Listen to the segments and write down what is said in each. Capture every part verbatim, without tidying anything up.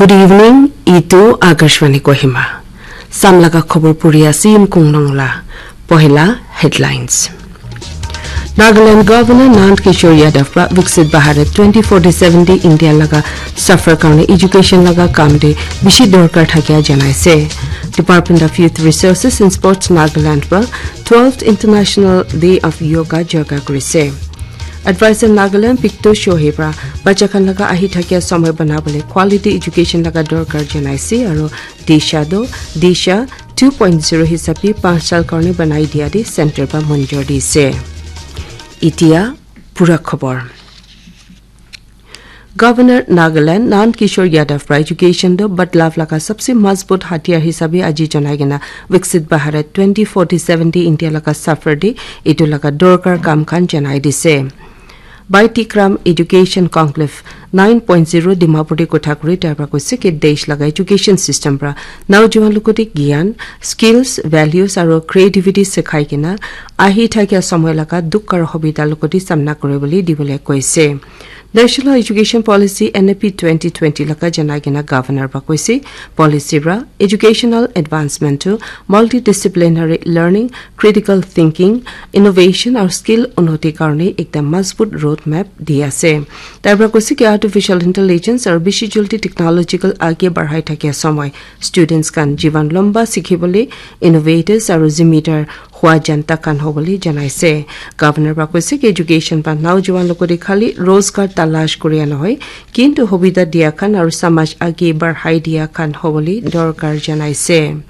Good evening, itu Akashvani Kohima. Samlaga khobor puri ase Yimkung Nongla. Pohila headlines. Nagaland Governor Nand Kishore Yadav pra Viksit Bharat twenty forty-seven de India laga safar karne education laga kam de bishi dorkar thakia janaise. Department of Youth Resources and Sports Nagaland pra twelfth International Day of Yoga jorka kurise. Advisor Nagaland Picto Shohei pra bacha khan laga ahi thakia samay banabole quality education laga dorkar janaise aro Disha do Disha two point zero hisabe panch sal karne banai dia de center pra monjor dise. Itia pura khobor. Governor Nagaland Nand Kishore Yadav pra education do badlav laga sabse mazbut hatiyar hisabe aji janai kena Viksit Bharat twenty forty-seven de India laga safar de itu laga dorkar kam khan janai dise. Baitikram Education Conclave nine point zero Dimapur de kotha kuri tai pra koise ki desh laga education system pra naujuan logote gyan, skills, values aro creativity sikhai kena ahi thakia samay laga dukh aro hobita logote samna kuribole dibole koise. National Education Policy N E P twenty twenty laga janai kena governor pra koise policy pra educational advancement to multidisciplinary learning, critical thinking, innovation aru skill unnoti karne ekta mazbut road map di ase. Tai pra koise ki artificial intelligence aru bishi jaldi technological age barhai thakia samay students khan jivan lamba sikhibole innovators aru zimidar hua janta khan hobole janaise. Governor pra koise ki education pra naujuan logote khali rozgar talash koria nohoi, kintu hobita dia khan aru samaj age barhai dia khan hobole dorkar janaise.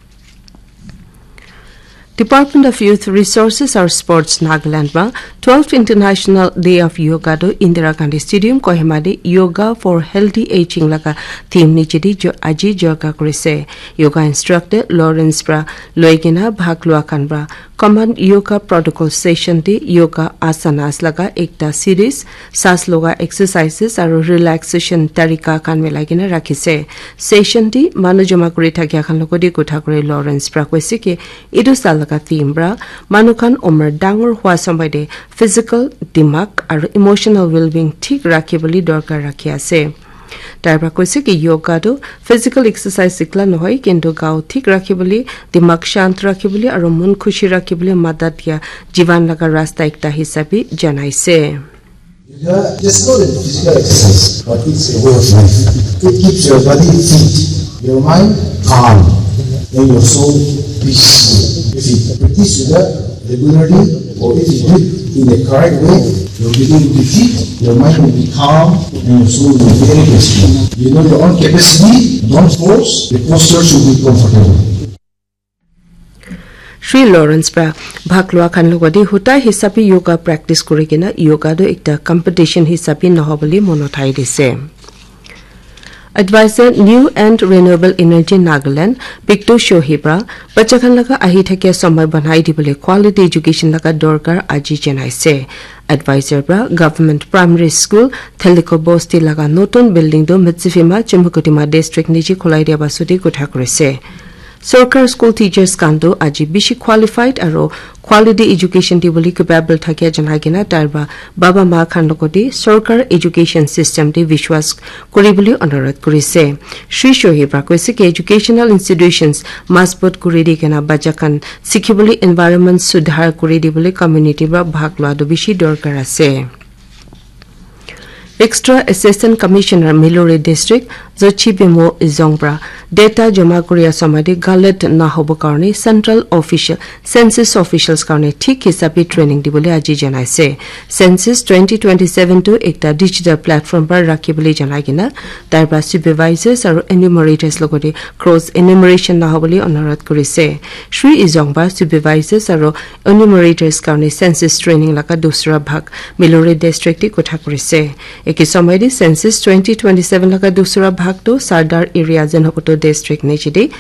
Department of Youth Resources aru Sports Nagaland pra twelfth International Day of Yoga do Indira Gandhi Stadium Kohima de Yoga for Healthy Aging laga theme niche de jo-, aji jorka kurise. Yoga instructor Lawrence pra loigena bhag lua khan pra common yoga protocol session de yoga asanas laga ekta series, saas loga exercises aru relaxation tarika khan milai kena rakhise. Session de manu joma kuri thakia khan logote kotha kuri Lawrence pra koise ki itu saal laga theme pra manu khan umar dangor hua samay de physical, dimag aru emotional well-being thik rakhibole dorkar rakhi ase. Tai pra koise ki yoga tu physical exercise sikla nohoi, kintu gao thik rakhibole, dimag shant rakhibole aru mon khushi rakhibole madat dia jivan laga rasta ekta hisabe janaise. Yoga is not a physical exercise, but it's a way of life. It keeps your body fit, your mind calm, and your soul peaceful. If you practice yoga regularly, or if you do it in the correct way, your body will be fit, your mind will be calm, and your soul will be very peaceful. You know your own capacity, don't force, the posture should be comfortable. Shri Lawrence pra bhag lua khan logote huta hisabe yoga practice kuri kena yoga do ekta competition hisabe nohobole mon uthai dise. Advisor New and Renewable Energy Nagaland Picto Shohei pra bacha khan laga ahi thakia samay banai dibole quality education laga dorkar aji janaise. Advisor pra Government Primary School Theliko Bosti laga notun building do Mitsifima Chumukutima district niche khulai dia basu de kotha kurise. Sorkar school teachers khan tu aji bishi qualified aru quality education dibole capable thakia janai kena tai pra baba ma khan logote sorkar education system de vishwas kuribole onurodh kurise. Shri Shohei pra koise ki educational institutions mazbut kuri di kena bacha khan sikhibole environment sudhar kuri dibole community pra bhag lua tu bishi dorkar ase. Extra Assistant Commissioner Milori District Zochi Bemo Izong pra data joma kuria samay de galat nahobo karne Central Official Census Officials karne thik hisabe training dibole aji janaise. Census twenty twenty-seven tu ekta digital platform pra rakhibole janai kena tai pra supervisors aru enumerators logote cross enumeration nahobole onurodh kurise. Shri Izong pra supervisors aru enumerators karne census training laga dusra bhag Milori district de kotha kurise. Eke samay de census twenty twenty-seven laga dusra bhag tu Sardar area Zunheboto district niche de